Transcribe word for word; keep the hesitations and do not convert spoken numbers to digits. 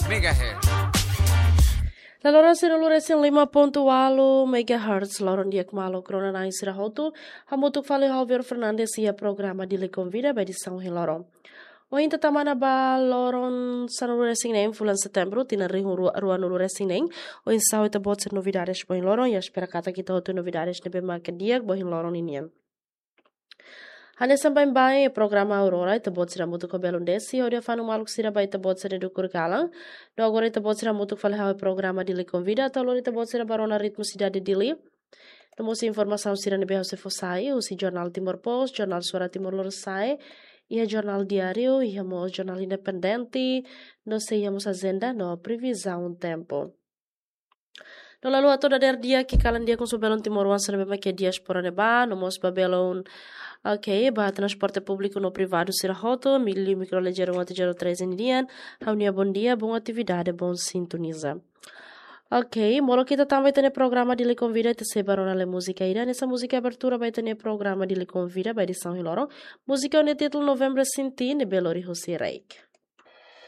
Megahertz. Laloran sanulu-resin-lima pontu ualu megahertz, loron di'ak maluk rona-na'in sira hotu, hamutuk fali ho Vero Fernandes iha programa Dili Konvida ba edisaun ohin loron. Ohin ita tama ona ba loron sanulu-resin-neen fulan Setembru, tinan rihun rua, ruanulu-resin-neen, oinsá ho ita-boot sira novidades ba ohin loron, i espera katak ita hotu novidades ne'ebé mak di'ak ba ohin loron ninian. Hanesan baibain programa Aurora, ita-boot sira hamutuk ho belun Desi, hodi fanu maluk sira ba ita-boot sira dukur kalan. No agora ita-boot sira hamutuk fali ho programa Dili Konvida, atu lori ita-boot sira ba rona ritmu sidade Dili. No mós informasaun sira ne'ebé ha'u sei fó sai, husi Jornál Timor Post, Jornál Suara Timor Lorosa'e, iha Jornál Diáriu, iha mós Jornál Independente, no sei iha mós ajenda, no previzaun tempu. No la haluha atu dadeer di'ak, kalan di'ak ho belun timoroan sira ne'ebé mak iha diáspora ne'ebá, no mós ba belun, ok, ba transporte públiku no privadu sira hotu, Milio, Microlé zero um até zero três nian, ha'u-nia bondia, boa atividade, boa sintonia. Ok, molok ita tama ba ita-nia programa Dili Konvida, ita sei ba rona lai múzika ida, hanesan múzika abertura ba ita-nia programa Dili Konvida ba edisaun ohin loron, múzika ho nia títulu Novembro Sinti, ne'ebé lori husi Reik.